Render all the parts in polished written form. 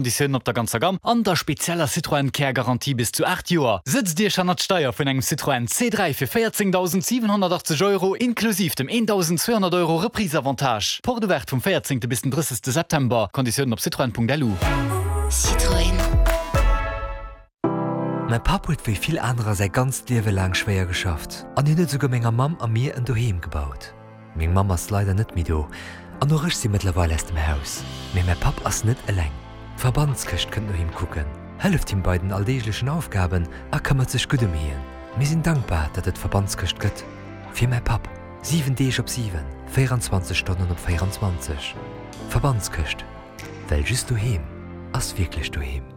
Konditiounen op der ganzer Gamm an der spezieller Citroën Care Garantie bis zu 8 Joer. Sëtzt Iech hannert d'Steier vun engem Citroën C3 fir 14.780 Euro inklusiv dem 1.200 Euro Reprise-Avantage. Porte ouverte vum 14. bis den 30. September. Konditiounen op citroën.lu. Citroën. Mäi Papp huet wéi vill anerer säi ganzt Liewe laang schwéier geschafft an hien huet esouguer menger Mamm a mir en Doheem gebaut. Meng Mamm ass leider net méi do an och ech si mëttlerweil aus dem Haus. Mee mäi Papp ass net eleng. D'Verbandskëscht kënnt no him kucken, hëlleft him bei den alldeeglechen Aufgaben a këmmert sech gutt ëm hien. Mir sinn dankbar, datt et d'Verbandskëscht gëtt. Fir mäi Papp. 7 Deeg op 7, 24 Stonnen op 24. Verbandskëscht, well just doheem ass wierklech doheem.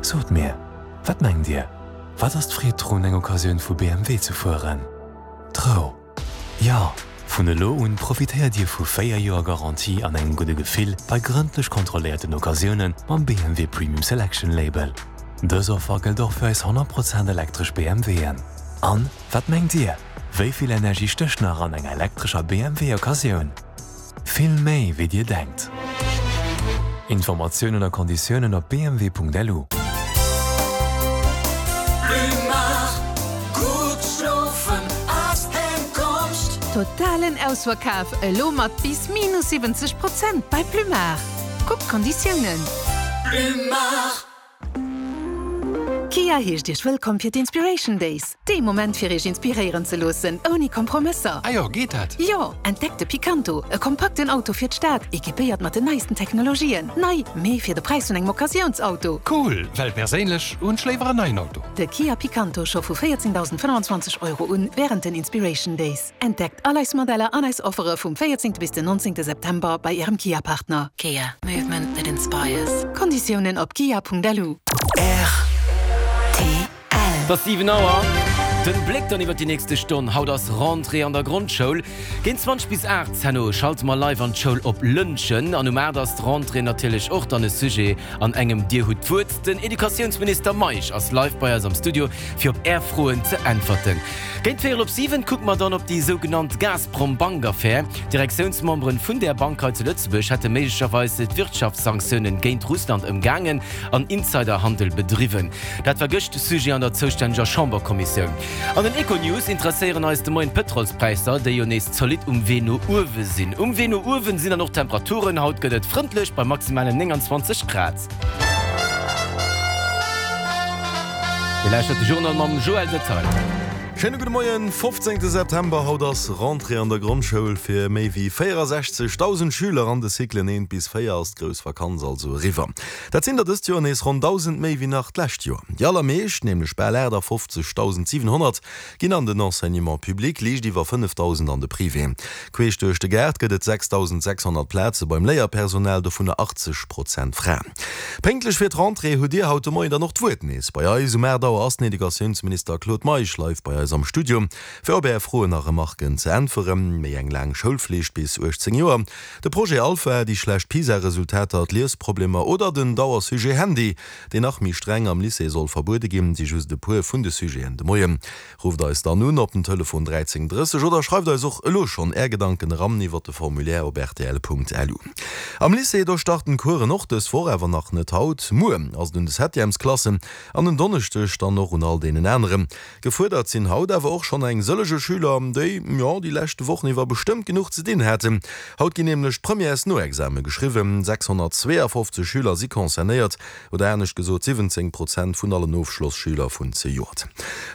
Sot mir, wat mengt Dir, wat ass d'Freed drun eng Occasioun vu BMW ze fueren? D'Rou! Jo, vun elo un profitéiert Dir vu 4 Joer Garantie an engem gudde Gefill bei grëndlech kontrolléierten Occasiounen mam BMW Premium Selection Label. Dës Offer gëllt och fir eis 100 Prozent elektresch BMWen. An, wat mengt Dir, wéi vill Energie stécht nach an enger elektrescher BMW Occasioun? Vill méi wéi dir denkt. Informatiounen a Konditiounen op bmw.lu. Totalen Ausverkaf elo mat bis minus 70 Prozent bei Plumard. Kuckt d'Konditiounen. Kia heescht Iech wëllkomm fir d'Inspiration Days, dee Moment fir Iech inspiréieren ze loossen, ouni Kompromësser. Ah jo, geet dat? Jo! Entdeckt de Picanto, e kompakten Auto fir d'Stad, equipéiert mat den neisten Technologien. Nei, mee fir de Präis vun engem Occasiounsauto. Cool, well perséinlech hunn ech léiwer en neien Auto. De Kia Picanto scho vu 14.025 Euro un wärend den Inspiration Days. Entdeckt all eis Modeller an eis Offere vum 14 bis den 19 September bei Ärem Kia-Partner. Kia, movement that inspires. Konditiounen op kia.lu. Rtl. Et ass 7 Auer. Den Bléck dann iwwer déi nächste Stonn. Haut ass Rentrée an der Grondschoul. Géint 20 bis 8 herno schalte mer live an d'Schoul op Lëntgen. An um 8 ass d'Rentrée natierlech och dann e Sujet an engem Dir hutt d'Wuert. Den Educatiounsminister Meisch ass live bei eis am Studio fir op Är Froen ze äntwerten. Géint véierel op 7 kucke mer dann op déi sougenannt Gazprom-Bank-Affär. D'Direktiounsmemberen vun där Bank hei zu Lëtzebuerg hätte méiglecherweis d'Wirtschaftssanktiounen géint Russland ëmgaangen an Insiderhandel bedriwwen. Dat war gëscht Sujet an der zoustänneger Chamberkommissioun. An den Econews interesséieren eis de Moien d'Pëtrolspräisser, déi jo nees zolidd um Wee no uewe sinn. Um Wee no uewen sinn dann och d'Temperaturen. Haut gëtt et frëndlech bei maximalen 29 Grad. Dir lauschtert de Journal mam Joël Detail. Schéine gudde Moien, 15 September, Haut ass Rentrée an der Grondschoul. Fir méi wéi 64.000 Schüler an de Cyclen 1 bis 4 ass d'grouss Vakanz also eriwwer. Dat sinn der dëst Joer nees ronn 1.000 méi wéi nach d'lescht Joer. Déi allermeescht, nämlech bal 58.700, ginn an den Enseignement public, liicht iwwer 5.000 an de Privé. Queesch duerch de Gaart gëtt et 6.600 Plaze beim Léierpersonal, dovunner 80 Prozent Fraen. Pénktlech fir d'Rentrée hutt Dir haut de Moien dann och d'Wuert nees bei eis. Um 8 Auer ass den Educatiounsminister Claude Meisch live bei eis am Studio, fir op Är Froen a Remarken ze äntweren. Méi eng laang Schoulflicht bis 18 Joer, de Projet Alpha, déi schlecht PISA-Resultater, d'Liesproblemer oder den Dauersujet Handy, deen nach méi streng am Lycée soll verbuede ginn, si just e puer vun de Sujeten de Moien. Rufft eis dann un op den Telefon 13 30 oder schreift eis och elo schonn Är Gedanken eran iwwer de Formulaire op rtl.lu. Am Lycée, do starten d'Coursen och dës Woch, awer nach net haut. Muer ass et un de Septièmesklassen an en Donneschdeg dann och un all deenen aneren. Gefuerdert sinn haut awer och schonn eng sëllege Schüler, déi, jo, déi leschte Wochen iwwer bestëmmt genuch ze dinn haten. Haut ginn nämlech d'Premièresnoexame geschriwwen. 652 Schüler si concernéiert, oder anescht gesot 17 Prozent vun allen Ofschlosschüler vun zejoert.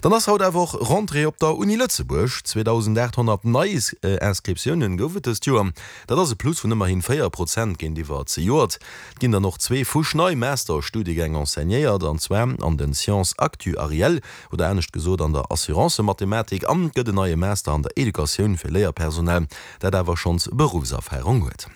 Dann ass haut awer och Rentrée op der Uni Lëtzebuerg. 2.800 nei Inscriptiounen gouf et dëst Joer. Dat ass e Plus vun ëmmerhin 4 Prozent géintiwwer zejoert. Et ginn dann och zwee fuschnei Master-Studiegäng enseignéiert, an zwar an den Sciences actuarielles, oder anescht gesot an der Assurancemathematik, an et gëtt en neie Master an der Educatioun fir Léierpersonal, dat awer schonns Beruffserfarung huet.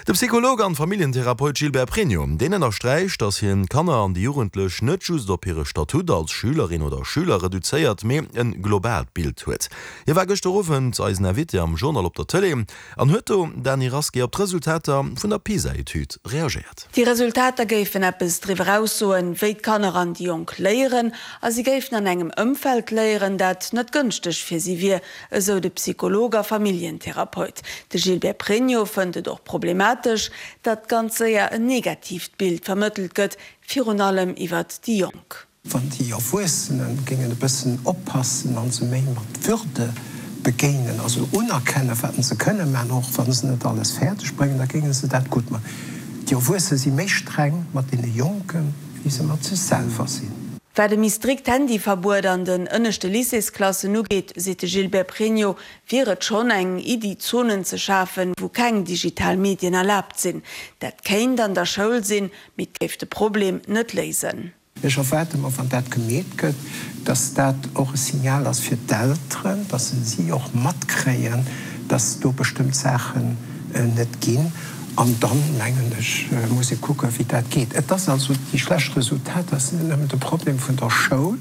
De Psycholog an Familljentherapeut Gilbert Pregno, deen ënnersträicht, datt hien d'Kanner an déi Jugendlech net just op hire Statut als Schülerin oder Schüler reduzéiert, mee en globaalt Bild huet. Hie war gëschter Owend eisen Invité am Journal op der Tëlee an huet do, Dany Rasqué, op d'Resultater vun der PISA-Etüd reagéiert. Déi Resultater géifen eppes driwwer aussoen, wéi d'Kanner an déi Jonk léieren, a si géifen an engem Ëmfeld léieren, dat net gënschteg fir si wier, esou de Psycholog a Familljentherapeut. De Gilbert Pregno fënnt et och problematesch. problematesch, datt ganz séier en negatiivt Bild vermëttelt gëtt, virun allem iwwert déi Jonk. Wann déi Erwuessene géingen e bëssen oppassen a se méi mat Würde begéinen, also unerkennen, wat se kënne man, och wa se net alles fäerdeg bréngen, da géinge se dat gutt man. Déi Erwuesse si méi streng mat deene Jonken, wéi se mat sech selwer sinn. Wat e méi strikt Handyverbuet an den ënneschte Lycéesklassen ugeet, seet de Gilbert Pregno, wier et schonn eng Iddi, Zonen ze schafen, wou keng digital Medien erlaabt sinn. Dat kéint an der Schoul sinn, mee et géif de Problem net léisen. Ech erwaarde mer, wann dat gemeet gëtt, dass dat och e Signal ass fir d'Elteren, dass se si och matkréien, dass do bestëmmt Saachen net ginn. An dann, mengen ech, muss ee kucken, wéi dat geet. Et ass also, déi schlecht Resultater sinn net nëmmen de Problem vun der Schoul,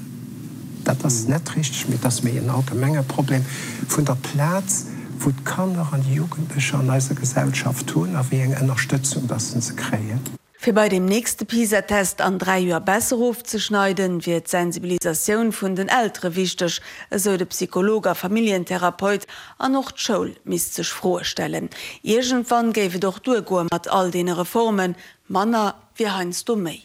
dat ass net richteg, mee et ass méi en allgemenge Problem vun der Plaz, wou d'Kanner an déi Jugendlecher an eiser Gesellschaft hunn a wéi eng Ënnerstëtzung dass se kréien. Fir bei deem nächste PISA-Test an 3 Joer besser ofzeschneiden, wier d'Sensibilisatioun vun den Eltere wichteg, esou de Psycholog a Familljentherapeut. An och d'Schoul misst sech Froe stellen. Iergendwann géif et och duergoe mat all deene Reformen, manner wier heiansdo méi.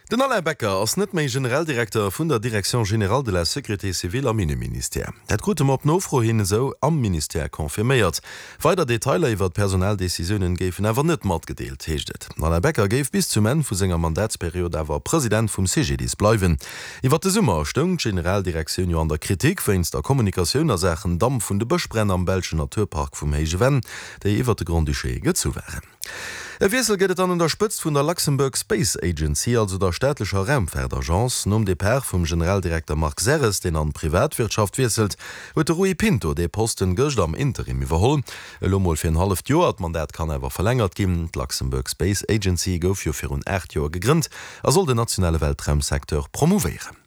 Den Alain Becker ass net méi Generaldirekter vun der Direction générale de la sécurité civile am Inneministère. Dat krute mer op Nofro hin esou am Ministère confirméiert. Weider Detailer iwwer d'Personaldecisiounen géifen awer net matgedeelt, heescht et. Den Alain Becker géif bis zum Enn vu senger Mandatsperiod awer President vum CGDIS bleiwen. Iwwer de Summer stoung d'Generaldirektioun jo an der Kritik wéinst der Kommunikatioun a Saachen Damp vun de Bëschbränn am belschen Naturpark vum Héije Venn, déi iwwer de Grand-Duché gezu waren. E Wiessel gëtt et dann un der Spëtzt vun der Luxembourg Space Agency, also der staatlecher Raumfaartagence. Nom Depart vum Generaldirekter Marc Serres, deen an d'Privatwirtschaft wiesselt, huet de Rui Pinto dee Posten gëscht am Interim iwwerholl. Elo mol fir en halleft Joer, d'Mandat kann awer verlängert ginn. D'Luxembourg Space Agency gouf jo virun 8 Joer gegrënnt a soll den nationale Weltraumsecteur promouvéieren.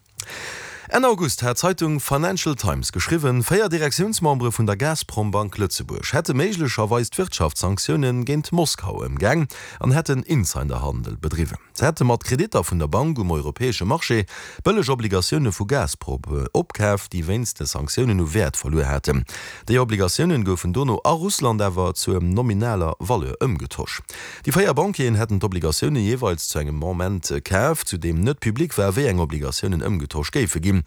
Enn August hat d'Zeitung Financial Times geschriwwen, 4 Direktiounsmembere vun der Gazprombank Lëtzebuerg hätte méiglecherweis d'Wirtschaftssanktioune géint Moskau ëmgaang an hätten Insiderhandel bedriwwen. Se hätte mat Kreditter vun der Bank um europäesche Marché bëlleg Obligatioune vu Gazprom opkaf, déi wéinst de Sanktiounen u Wäert verluer haten. Déi Obligatiounen goufen dono a Russland awer zur nominaler Valeur ëmgetosch. Déi 4 Banquieren hätten d'Obligatioune jeeweils zu engem Moment kaf, zu deem net public war, wéi eng Obligatiounen ëmgetosch géife ginn.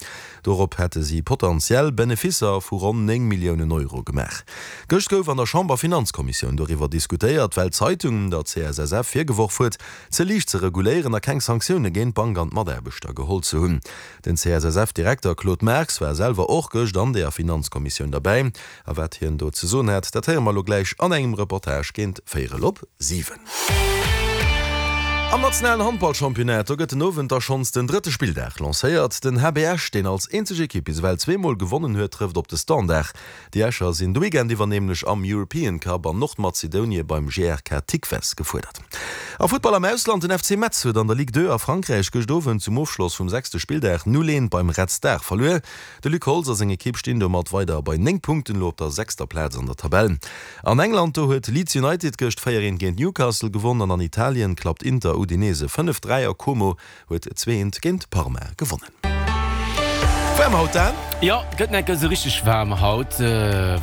Dorop hätte si potentiell Beneficer vu ronn 9 Milliounen Euro gemaach. Gëscht gouf an der Chamber-Finanzkommissioun doriwwer diskutéiert, well d'Zeitung der CSSF virgeworf huet, ze liicht ze reguléieren a keng Sanktioune géint d'Bank an d'Mataarbechter geholl ze hunn. Den CSSF-Direkter Claude Marx war selwer och gëscht an deeër Finanzkommissioun derbäi. A wat hien do ze soen hat, dat héiere mer elo gläich an engem Reportage géint véierel op 7. Am nationalen Handballchampionnat, do gëtt den Owend da schonns den drëtte Spilldag lancéiert. Den HB Esch, deen als eenzeg Ekipp bis ewell zweemol gewonnen huet, trëfft op de Standard. Déi Escher sinn de Weekend iwwer nämlech am European Cup an Nordmazedonie beim GRK Tikves gefuerdert. A Futtball am Ausland, Den FC Metz huet an der Ligue 2 a Frankräich gëscht Owend zum Ofschloss vum sechste Spilldag 0, 1 beim Red Star verluer. De Luc Holtz a seng Ekipp stinn domat weider bei 9 Punkten elo op der sechster Plaz an der Tabell. An England, do huet Leeds United gëscht 4, 1 géint Newcastle gewonn an an Italien klappt Inter Udinese 5, 3 a Como huet 2, 1 géint Parma gewonnen. Waarm haut, Dan? Jo, gëtt enk esou richteg waarm haut,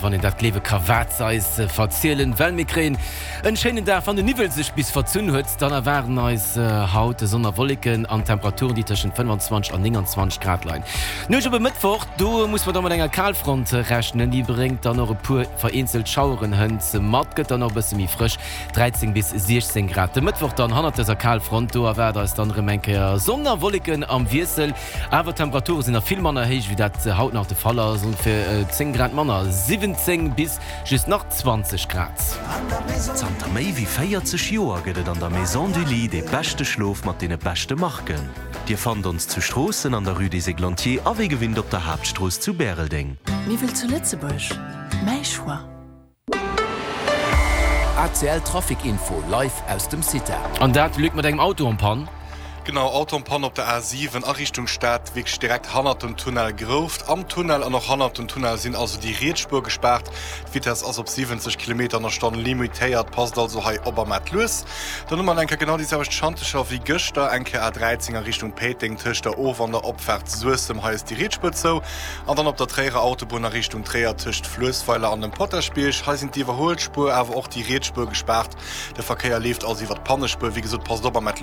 wann een dat gleewe ka wat se eis verzielen, well mir kréien en schéinen Dag. Wann de Niwwel sech bis verzunn huet, dann erwaarden eis haut Sonn a Wolleken an Temperaturen, déi tëschent 25 an 29 Grad leien. D'Nuecht op e Mëttwoch, do muss mer da mat enger Kalfront rechnen, déi bréngt dann och e puer vereenzelt Schaueren hënt mat, gëtt dann och e bësse méi frësch, 13 bis 16 Grad. De Mëttwoch dann hannert dëser Kalfront, do erwaart eis dann erëm eng Kéier Sonn a Wolleken am Wiessel, awer d'Temperature sinn nach vill manner héich wéi dat haut nach de Fall ass, ongeféier 10 Grad manner, 17 bis just nach 20 Grad. Zanter méi wéi 40 Joer gëtt et an der Maison du Lit dee beschte Schlof mat deene beschte Marken. Dir fannt ons zu Stroossen an der Rue des Églantiers a wéi gewinnt op der Haaptstrooss zu Bäreldeng. Miwwel zu Lëtzebuerg, mäi Choix. ACL Trafic Info live aus dem CITA. An dat, Luc, mat engem Auto en panne? Genau, Auto en panne op der A7 a Richtung Stad, wierklech direkt hannert dem Tunnel Grouft. Am Tunnel an och hannert dem Tunnel sinn also déi riets Spuer gespaart. D'Vitess ass op 70 Kilometer an der Stonn limitéiert, passt also hei op a maacht lues. Dann hu mer eng Kéier genau déi selwecht Schantecher wéi gëschter, eng Kéier A13 a Richtung Péiteng tëscht der Of an der Opfaart Suessem, hei ass déi riets Spuer zou. An dann op der Tréierer Autobunn a Richtung Tréier tëscht Fluessweiler an dem Potaschbierg, hei sinn d'Iwwerhuelspuer awer och déi riets Spuer gespaart. De Verkéier leeft also iwwer d'Pannespuer. Wéi gesot, passt op a maacht lues.